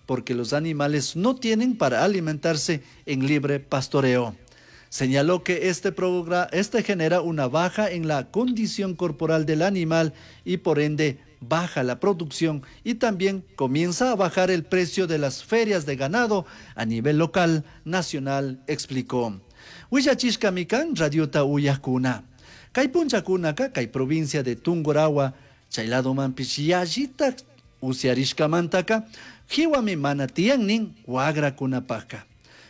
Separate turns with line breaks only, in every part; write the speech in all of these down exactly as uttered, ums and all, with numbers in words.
porque los animales no tienen para alimentarse en libre pastoreo. Señaló que este, programa, este genera una baja en la condición corporal del animal y por ende baja la producción y también comienza a bajar el precio de las ferias de ganado a nivel local, nacional, explicó. Willachishkami kan radiota uyajkuna. Kay punllakunaka kay provincia de Tungurahua, chay ladomanpish yallitak usyarishkamantaka, jiwami mana tiyan nin wagrakunapaka.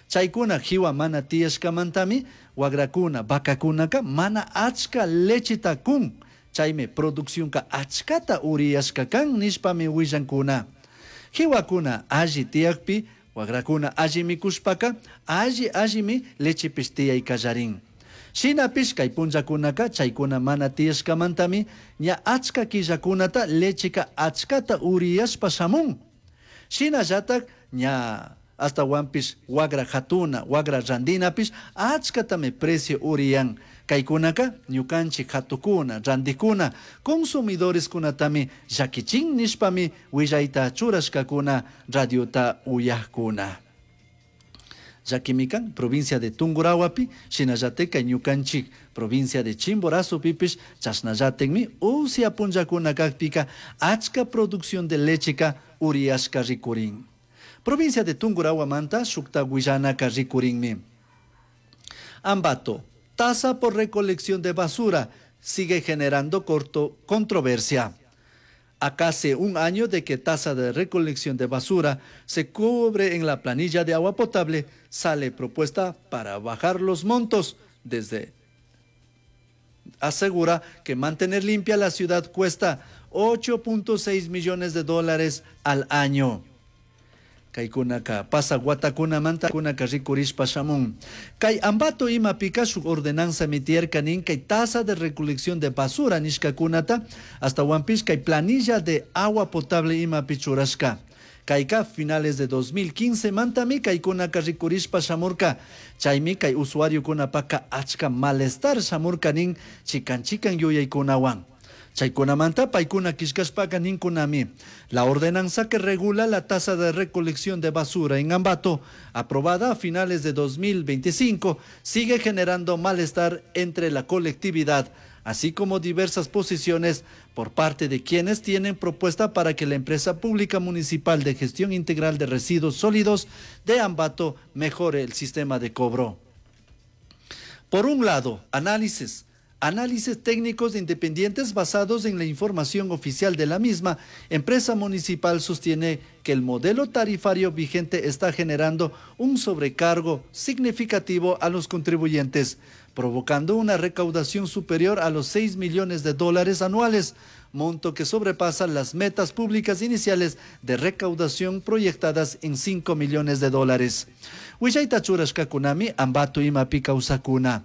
Chaykuna jiwa mana tiyashkamantami wagrakuna, vacakunaka mana achka lecheta kun. Chaymi produccionka achkata uriyashka kan nishpami willankuna. Jiwakuna alli tiyakpi, wagrakuna alli mikushpaka, alli allimi lechepish tiyay kallarin. Shinapish kay punllakunaka chaykuna mana tiyashkamantami ña achka killakunata lecheka achkata uriyashpa shamun. Shinallatak ña hasta wagra hatuna, wagra randinapish achkatami precio uriyan. Kaykunaka ñukanchik hatukuna, randikuna, consumidores kunatami llakichin nishpami willayta churashkakuna radiota uyajkuna. Llakimikan provincia de Tungurahuapi, shinallatik ñukanchik provincia de Chimborazo pipish chashnallatikmi usya punllakuna kakpika achka producción de lecheka uriyashka rikurin. Provincia de Tungurahua shukta willanaka rikurinmi. Ambato, tasa por recolección de basura sigue generando corto controversia. A casi un año de que tasa de recolección de basura se cubre en la planilla de agua potable, sale propuesta para bajar los montos desde asegura que mantener limpia la ciudad cuesta ocho punto seis millones de dólares al año. Kaykunaka pasa watakunamanta kunaka rikurishpa shamun. Kay Ambato imapika shuk ordenanza mitierka nin kay tasa de recolección de basura nishkakunata hasta wampish kay planilla de agua potable imapi churashka. Kayka finales de dos mil quince mantami kaykunaka rikurishpa shamurka. Chaymi kay usuariokunapaka achka malestar shamurka nin chikan chikan yuyaykunawan. Chaykunamanta paykuna kishkashpaka ninkunami. La ordenanza que regula la tasa de recolección de basura en Ambato, aprobada a finales de dos mil veinticinco, sigue generando malestar entre la colectividad, así como diversas posiciones por parte de quienes tienen propuesta para que la empresa pública municipal de gestión integral de residuos sólidos de Ambato mejore el sistema de cobro. Por un lado, análisis. Análisis técnicos independientes basados en la información oficial de la misma empresa municipal sostiene que el modelo tarifario vigente está generando un sobrecargo significativo a los contribuyentes, provocando una recaudación superior a los seis millones de dólares anuales, monto que sobrepasa las metas públicas iniciales de recaudación proyectadas en cinco millones de dólares. Willayta churashkakunami Ambato imapi kawsakuna.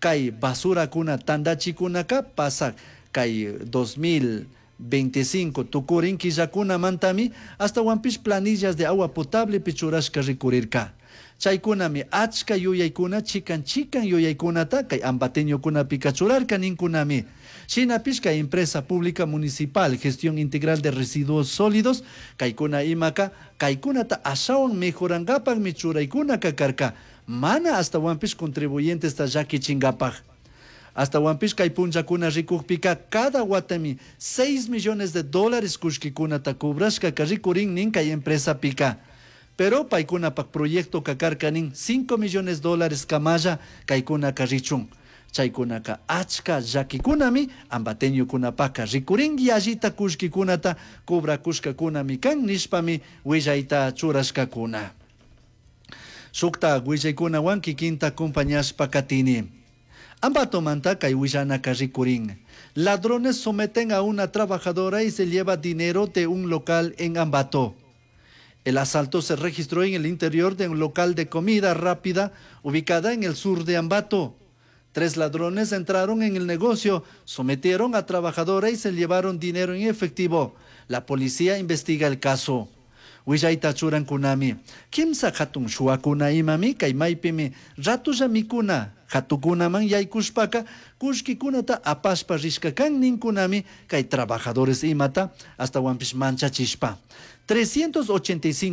Kay basura kuna tandachikunaka pasa kay dos mil veinticinco tukurin killakuna mantami hasta wampish planillas de agua potable pichurashka rikurirka. Chaykunami achka yuyaykuna chikan chikan yuyaykunata kay ambateñokunapi kachurarka ninkunami. Shinapish kay empresa pública municipal gestión integral de residuos sólidos kaykuna imaka kaykunata ashawan mejorankapakmi churaykunaka karka. Mana hasta wampish contribuyentes ta llakichinkapaj. Hasta wampish kay punllakuna rikukpika cada watami seis millones de dólares kullkikunata cobrashka rikurin nin kay empresa pika. Pero paykunapak proyecto kakarka nin cinco millones de dólares kamalla kaykunaka richun. Chaykunaka achka llakikunami ambateñokunapaka rikurin yallita kullkikunata cobrakushkakunami kan nishpami willayta churashkakuna. Shukta willaykunawan kikinta acompañashpa katini. Ambatomanta kay willanaka rikurin. Ladrones someten a una trabajadora y se lleva dinero de un local en Ambato. El asalto se registró en el interior de un local de comida rápida ubicada en el sur de Ambato. Tres ladrones entraron en el negocio, sometieron a trabajadora y se llevaron dinero en efectivo. La policía investiga el caso. Willayta churankunami. Kimsa hatun shuwakuna imami kay maypimi ratulla mikuna hatukunaman yaykushpaka kullkikunata apashpa rishka kan ninkunami kay trabajadores imata hasta wampish manchachishpa. trescientos ochenta y cinco